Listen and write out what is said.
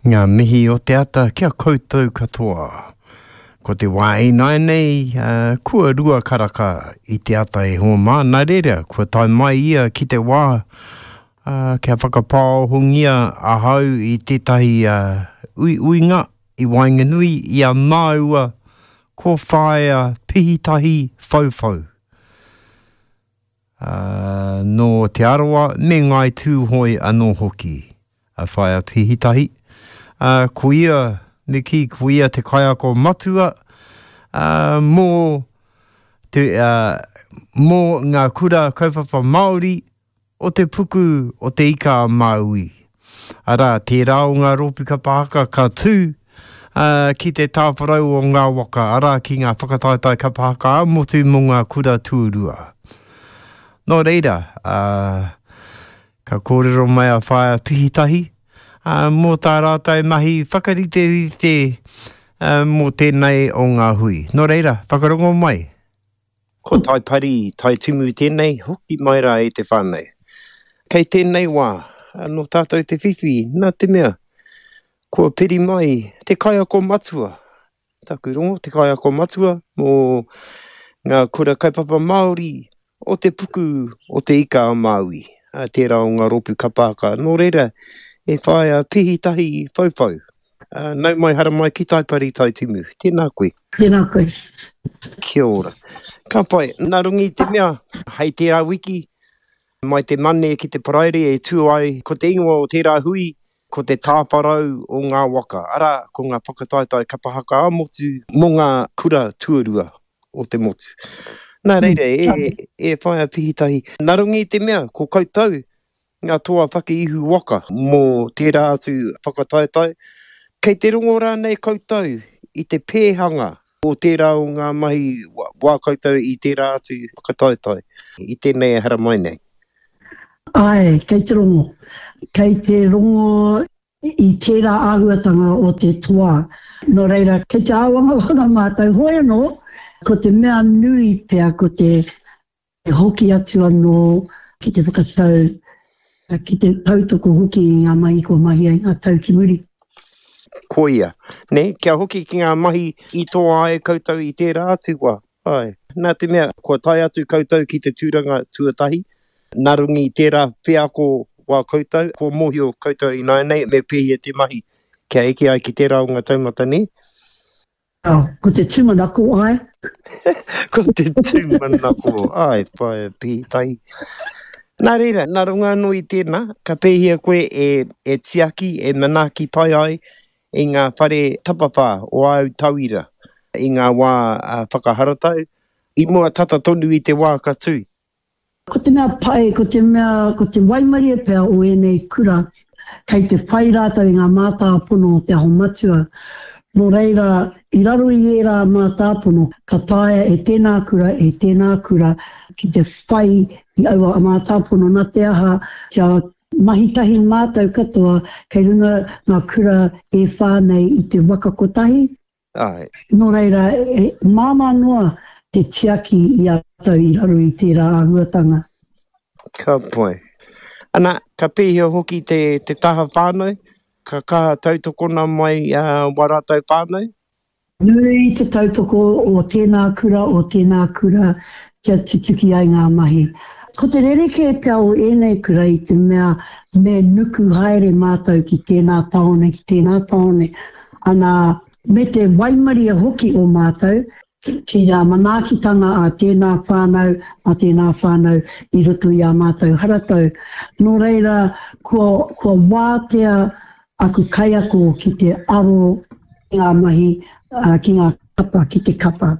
Ngā mihi o te ata ki a koutou katoa. Ko te wā ināianei, kua rua karaka i te ata e hoa mā, nā reira, kua tae mai ia ki te wā kia whakapāohongia ahau i tētahi uiuinga i waenganui i a māua ko Whaea Pihitahi Whauwhau. Ā, nō Te Arawa me Ngāi Tūhoe anō hoki a Whaea Pihitahi. Ā, ko ia, me kī, ko ia te kaiako matua, ā, mō te, ā, mō ngā kura kaupapa Māori o te puku o Te Ika-a-Māui. Arā, tērā o ngā rōpū kapa haka ka tū, ā, ki te tāwharau o ngā waka, arā, ki ngā whakataetae kapa haka ā-motu mō ngā kura tuarua. Nō reira, ā, ka kōrero mai a Whaea Pihitahi, ā, mō tā rātou mahi whakariterite, ā, mō tēnei o ngā hui. Nō reira, whakarongo mai. Ko Taipari, Taitimu tēnei, hoki mai rā e te whānau. Kei tēnei wā, nō tātou te whiwhi, nā te mea, kua piri mai te kaiako matua, taku rongo, te kaiako matua mō ngā kura kaupapa Māori o te puku o Te Ika a Māui, tērā o ngā rōpū kapa haka. Nō reira, e whāia pihitahi whauwhau. Nau mai haramai ki Taipari Taitimu. Tēnā koe. Tēnā koe. Kia ora. Ka pai. Nā runga i te mea, hei tērā wiki, mai te Mane ki te Paraire e tū ai, ko te ingoa o tērā hui, ko te tāwharau o ngā waka, arā, ko ngā whakataetae kapa haka ā-motu mō ngā kura tuarua o te motu. Nā reira, e, e Whaea Pihitahi, nā runga i te mea, ko koutou ngā toa whakaihu waka mō tērā atu whakataetae. Kei te rongo rānei koutou i te pēhanga o tērā o ngā mahi wā koutou i tērā atu whakataetae i tēnei e haramai nei? Āe, kei te rongo. Kei te rongo i tērā āhuatanga o te toa. Nō reira, kei te āwangawanga mātou. Hoi anō, ko te mea nui pea ko te E hoki atu anō ki te whakatau, ki te tautoko hoki i ngā mahi kua mahia i ngā tau ki muri. Koia, nē, kia hoki ki ngā mahi i toa ai koutou i tērā atu wā, āe. Nā te mea, kua tae atu koutou ki te tūranga tuatahi, nā runga i tērā wheako wā koutou, kua mōhio koutou ināianei me pēhea te mahi kia eke ai ki tērā o ngā taumata, nē? Oh, ko te tūmanako, āe. Ko te tūmanako, āe, whaea pītai. Nā reira, nā runga anō i tēnā, ka pēhea koe e, e tiaki, e manaaki pai ai i ngā whare tapawhā o āu tauira i ngā wā whakaharatau, i mua tata tonu i te wā ka tū? Ko te mea pai, ko te mea, ko te waimarie pea o ēnei kura, kei te whai rātou i ngā mātāpono o Te Aho Matua. Nō reira, i raro i ērā mātāpono, ka taea e tēnā kura, e tēnā kura ki te whai i aua mātāpono, nā te aha, kia mahi tahi mātou katoa kei runga ngā kura e whā nei i te waka kotahi, Āe. Nō reira, e māmā noa te tiaki i a rātou i raro i tērā āhuatanga. Ka pai. Ana, ka pēhea hoki te, te taha whānau? Ka kaha tautokona mai wā rātou whānau? Nui te tautoko o tēnā kura, o tēnā kura kia tutuki ai ngā mahi. Ko te rerekē pea o ēnei kura i te mea me nuku haere mātou ki tēnā tāone, ki tēnā tāone, ana, me te waimarie hoki o mātou ki ngā manaakitanga a tēnā whānau, a tēnā whānau i roto i ā mātou haratau. Nō reira, kua, kua wātea aku kaiako ki te aro ki ngā mahi, ki ngā kapa, ki te kapa.